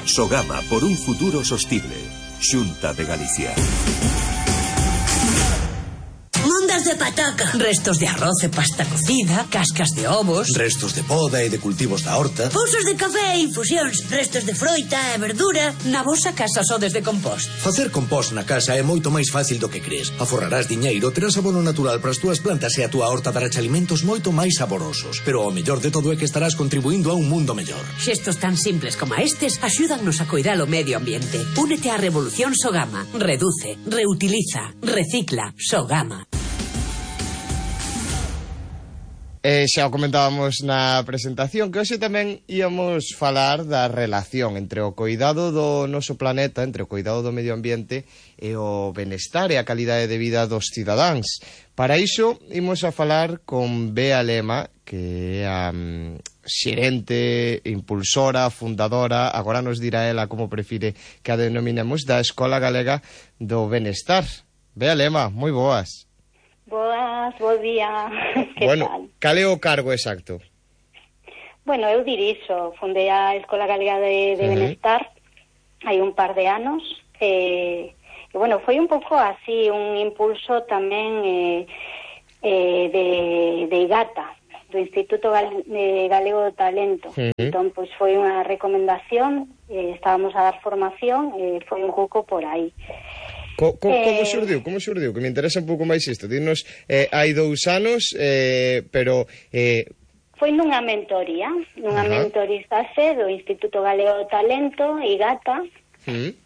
Sogama, por un futuro sostible. Xunta de Galicia. Mondas de pataca, restos de arroz e pasta cocida, cascas de ovos, restos de poda e de cultivos da horta, pousos de café e infusións, restos de froita e verdura. Na vosa casa sodes de compost? Facer compost na casa é moito máis fácil do que crees. Aforrarás diñeiro, terás abono natural para as túas plantas e a túa horta dará alimentos moito máis saborosos. Pero o mellor de todo é que estarás contribuindo a un mundo mellor. Xestos tan simples como estes axúdannos a coidar o medio ambiente. Únete á revolución Sogama. Reduce, reutiliza, recicla. Sogama. Xa o comentábamos na presentación que hoxe tamén íamos falar da relación entre o coidado do noso planeta, entre o coidado do medio ambiente e o benestar e a calidade de vida dos cidadáns. Para iso imos a falar con Bea Lema, que é a xerente, impulsora, fundadora, agora nos dirá ela como prefire que a denominemos, da Escola Galega do Benestar. Bea Lema, moi boas. Boas, bo día. Que bueno, tal? Cal é o cargo exacto? Bueno, eu dirixo, fundei a Escola Galega de Benestar hai un par de anos e bueno, foi un pouco así un impulso tamén de IGATA, do Instituto Galego do Talento. Entón, pois foi unha recomendación, estábamos a dar formación e foi un pouco por aí. Como xurdiu? Que me interesa un pouco máis isto. Dinos, hai 2 anos, pero... Foi nunha mentoría, mentorizase do Instituto Galego do Talento, IGATA.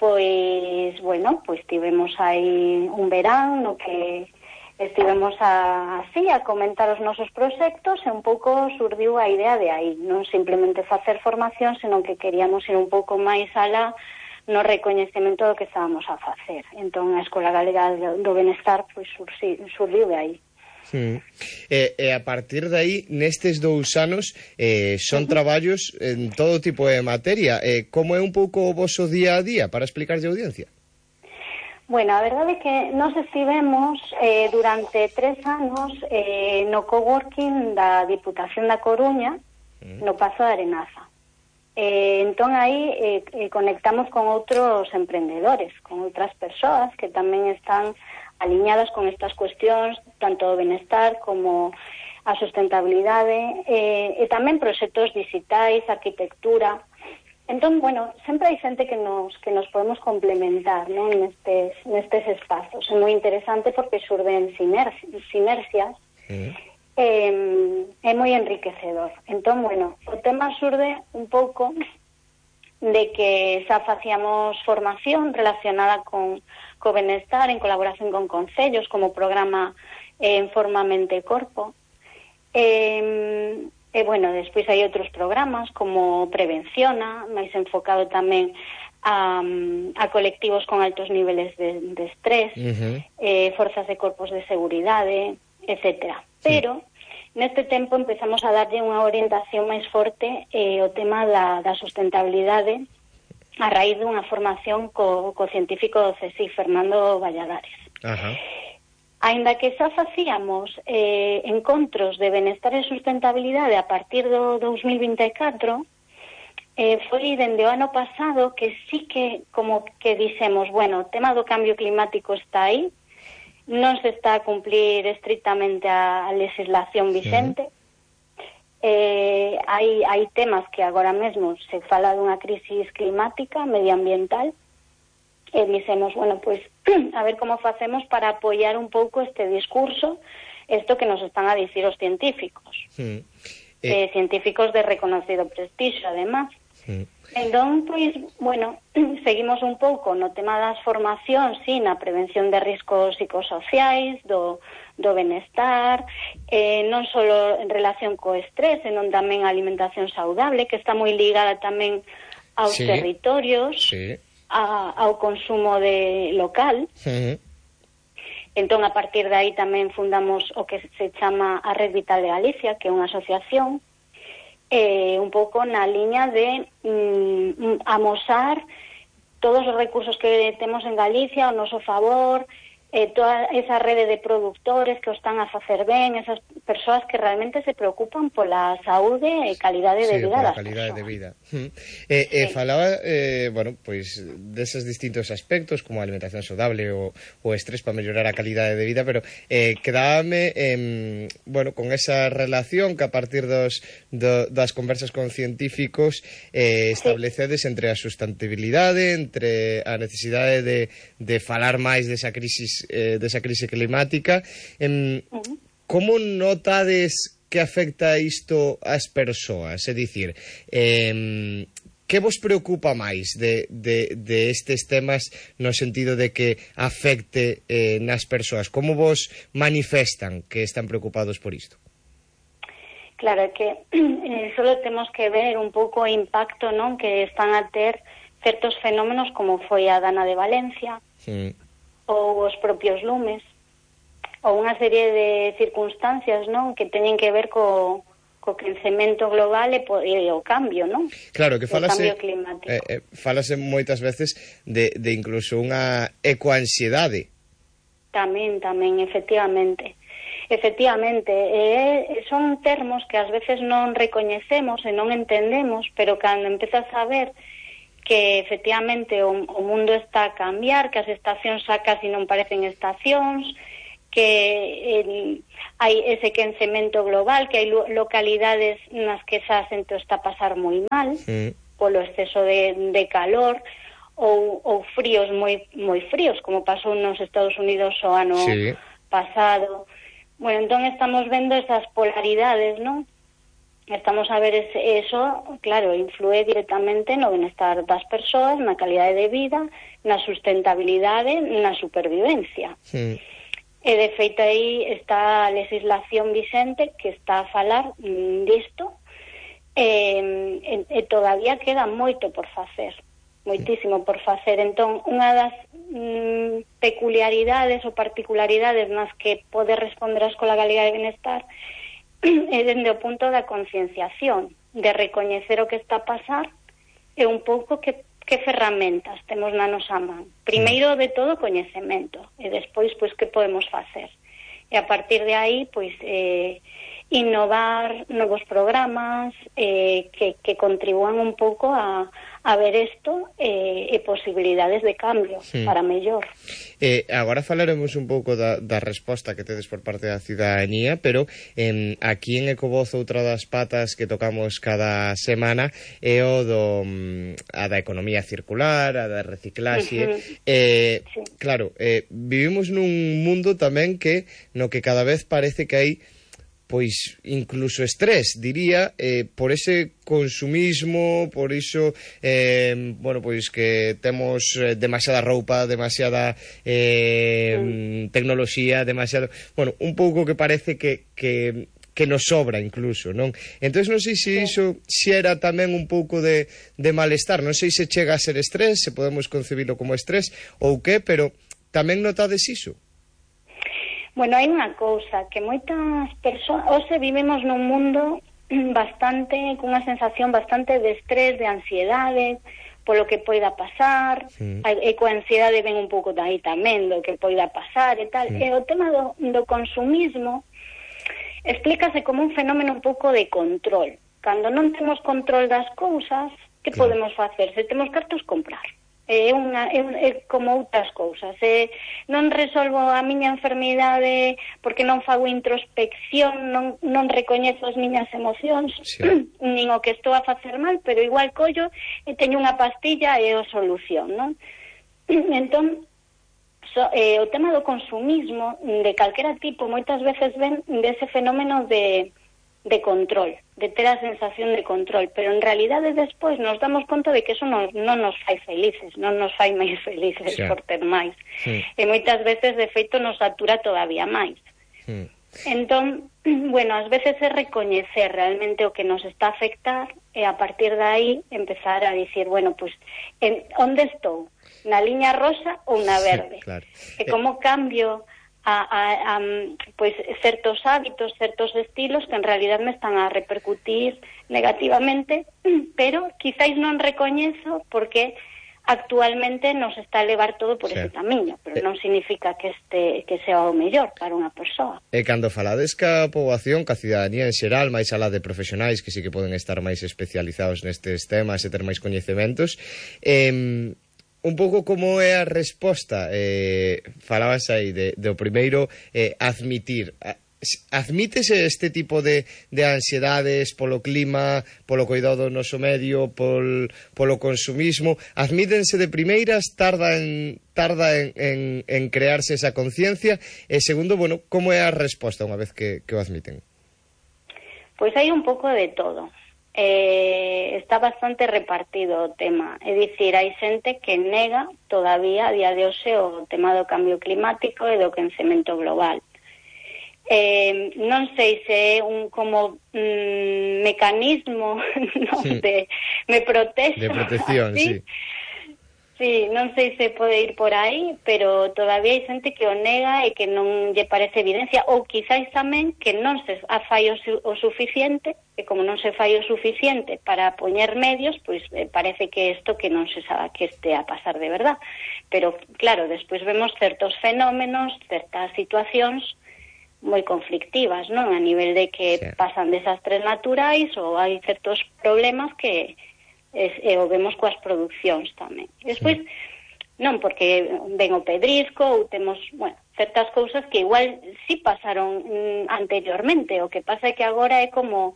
Pois, bueno, pois tivemos aí un verán no que estivemos así a comentar os nosos proxectos e un pouco surdiu a idea de aí. Non simplemente facer formación, senón que queríamos ir un pouco máis alá no recoñecemento do que estábamos a facer. Entón, a Escola Galega do Benestar pois surdiu de aí. E a partir de aí, nestes 2 anos, son traballos en todo tipo de materia. Como é un pouco o voso día a día para explicarlle a audiencia? Bueno, a verdade é que nós estivemos durante 3 anos no coworking da Diputación da Coruña, no Pazo de Arenaza. Entón aí conectamos con outros emprendedores, con outras persoas que tamén están aliñadas con estas cuestións, tanto o benestar como a sustentabilidade, e tamén proxectos digitais, arquitectura. Entón, bueno, sempre hai xente que nos podemos complementar, non, nestes espazos. É moi interesante porque xurden sinerxias. É moi enriquecedor. Entón, bueno, o tema xurde un pouco de que xa facíamos formación relacionada co benestar en colaboración con concellos, como programa Forma Mente e Corpo. E, bueno, despois hai outros programas como Prevenciona, máis enfocado tamén a colectivos con altos niveles de estrés, forzas de corpos de seguridade, etcétera. Pero neste tempo empezamos a darlle unha orientación máis forte o tema da sustentabilidade a raíz dunha formación co científico do CSIC, Fernando Valladares. Aínda que xa facíamos encontros de benestar e sustentabilidade a partir do 2024, foi dende o ano pasado que sí que como que dixemos, bueno, o tema do cambio climático está aí, non se está a cumplir estrictamente a legislación vigente. Hai temas que agora mesmo se fala dunha crisis climática, medioambiental, e dixemos, bueno, pois, a ver como facemos para apoiar un pouco este discurso, isto que nos están a dicir os científicos. Científicos de reconocido prestixio, además. Entón, pois, bueno, seguimos un pouco no tema das formacións, sí, na prevención de riscos psicosociais, do benestar, non só en relación co estrés, senón tamén a alimentación saudable, que está moi ligada tamén aos territorios, ao consumo local. Entón, a partir de aí tamén fundamos o que se chama a Red Vital de Galicia, que é unha asociación un pouco na liña de amosar todos os recursos que temos en Galicia ao noso favor, toda esa rede de produtores que o están a facer ben, esas persoas que realmente se preocupan pola saúde e calidade de vida das calidade persoas. de vida. Falaba, bueno, pois deses distintos aspectos como a alimentación saudable o estrés para mellorar a calidade de vida, pero quedábame bueno, con esa relación que a partir das conversas con científicos establecedes entre a sustentabilidade, entre a necesidade de falar máis desa crise climática. Como notades que afecta isto ás persoas? É dicir, que vos preocupa máis de estes temas no sentido de que afecte nas persoas? Como vos manifestan que están preocupados por isto? Claro, é que solo temos que ver un pouco o impacto, non, que están a ter certos fenómenos como foi a dana de Valencia, ou os propios lumes, ou unha serie de circunstancias, non, que teñen que ver co quecemento global e o cambio, non? Claro, que falase, o cambio climático. Falase moitas veces de incluso unha ecoansiedade. Tamén, efectivamente. Son termos que ás veces non recoñecemos e non entendemos, pero cando empezas a ver que efectivamente o mundo está a cambiar, que as estacións xa casi non parecen estacións, que hai ese quencemento global, que hai localidades nas que xa xente está a pasar moi mal polo exceso de calor, ou fríos moi fríos, como pasou nos Estados Unidos o ano pasado. Bueno, entón estamos vendo esas polaridades, non? Estamos a ver eso, claro, influe directamente no benestar das persoas, na calidade de vida, na sustentabilidade, na supervivencia. E de feito aí está a legislación vixente que está a falar disto, e todavía queda moito por facer, moitísimo por facer. Entón, unha das peculiaridades ou particularidades nas que pode responder a Escola Galega de Benestar é dende o punto da concienciación, de recoñecer o que está a pasar e un pouco que ferramentas temos na nosa man. Primeiro de todo, coñecemento, e despois, pois, que podemos facer. E a partir de aí, pois, innovar novos programas que contribúan un pouco a ver isto e posibilidades de cambio para mellor. Agora falaremos un pouco da resposta que tedes por parte da ciudadanía, pero aquí en Ecovoz outra das patas que tocamos cada semana é a da economía circular, a da reciclaxe. Claro, vivimos nun mundo tamén no que cada vez parece que hai pois incluso estrés, diría, por ese consumismo, por iso, bueno, pois que temos demasiada roupa, demasiada tecnoloxía, demasiado, bueno, un pouco que parece que nos sobra incluso, non? Entón non sei se iso se era tamén un pouco de malestar, non sei se chega a ser estrés, se podemos concebilo como estrés ou que, pero tamén notades iso? Bueno, hai unha cousa, que moitas persoas, hoxe vivimos nun mundo cunha sensación bastante de estrés, de ansiedade, polo que poida pasar, e coa ansiedade ven un pouco aí tamén do que poida pasar e tal, e o tema do consumismo explícase como un fenómeno un pouco de control. Cando non temos control das cousas, que podemos facer? Se temos cartos, comprar. É como outras cousas. Non resolvo a miña enfermidade porque non fago introspección, non recoñezo as miñas emocións, nin o que estou a facer mal, pero igual collo e teño unha pastilla e o solución, non? Entón, o tema do consumismo de calquera tipo moitas veces ven dese fenómeno de control, de ter a sensación de control, pero en realidade despois nos damos conta de que eso non nos fai felices, non nos fai máis felices por ter máis. E moitas veces, de feito, nos satura todavía máis. Entón, bueno, ás veces é recoñecer realmente o que nos está a afectar e a partir de aí empezar a dicir, bueno, pues, onde estou? Na liña rosa ou na verde? E como cambio pois certos hábitos, certos estilos que en realidad me están a repercutir negativamente, pero quizáis non recoñezo porque actualmente nos está a levar todo por ese camiño, pero non significa que sea o mellor para unha persoa. E cando falades ca poboación, ca cidadanía en xeral, máis alá de profesionais que sí que poden estar máis especializados nestes temas e ter máis coñecementos, un pouco como é a resposta, falabas aí do primeiro, admitítese este tipo de ansiedades polo clima, polo cuidado do noso medio, polo consumismo, admítense de primeiras, tarda en crearse esa conciencia, e segundo, bueno, como é a resposta unha vez que o admiten? Pois hai un pouco de todo. Está bastante repartido o tema, é dicir, hai xente que nega todavía a día de hoxe o tema do cambio climático e do quencemento global. Non sei se é un como mecanismo, non, me protexo, de protección, así. Sí, non sei se pode ir por aí, pero todavía hai xente que o nega e que non lle parece evidencia, ou quizáis tamén que non se fai o suficiente, e como non se fai o suficiente para poñer medios, pois parece que isto que non se sabe que este a pasar de verdad. Pero claro, despois vemos certos fenómenos, certas situacións moi conflictivas, non? A nivel de que pasan desastres naturais ou hai certos problemas que o vemos coas producións tamén. Despois, non, porque ven o pedrisco ou temos, bueno, certas cousas que igual sí pasaron anteriormente, o que pasa é que agora é como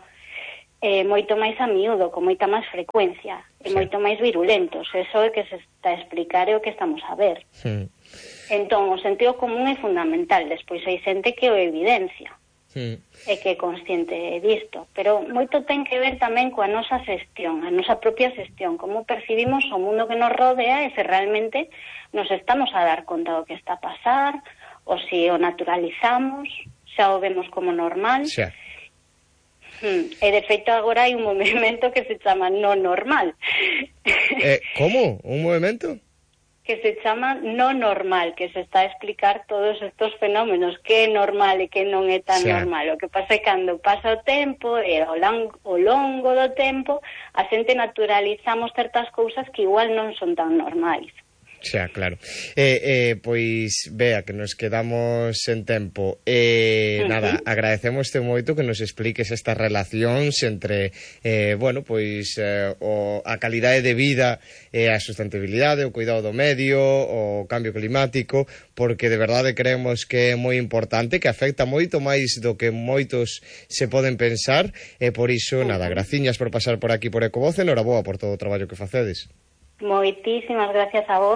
moito máis a miúdo, con moita máis frecuencia, e moito máis virulentos. Eso é que se está a explicar e o que estamos a ver. Entón, o sentido común é fundamental. Despois hai xente que o evidencia e que é consciente disto, pero moito ten que ver tamén coa nosa xestión, a nosa propia xestión, como percibimos o mundo que nos rodea e se realmente nos estamos a dar conta do que está a pasar, ou se o naturalizamos, xa o vemos como normal. E de feito agora hai un movimento que se chama no normal. Como? Un movimento? Que se chama no normal, que se está a explicar todos estos fenómenos, que é normal e que non é tan normal. O que pasa é que cando pasa o tempo e ao longo do tempo a xente naturalizamos certas cousas que igual non son tan normais. Xa, claro. Pois, Bea, que nos quedamos sen tempo. Nada, agradecémoste moito que nos expliques estas relacións entre, bueno, pois, a calidade de vida e a sustentabilidade, o cuidado do medio, o cambio climático, porque de verdade creemos que é moi importante, que afecta moito máis do que moitos se poden pensar, e por iso, nada, graciñas por pasar por aquí por Ecovoz, e noraboa por todo o traballo que facedes. Moitísimas gracias a vos.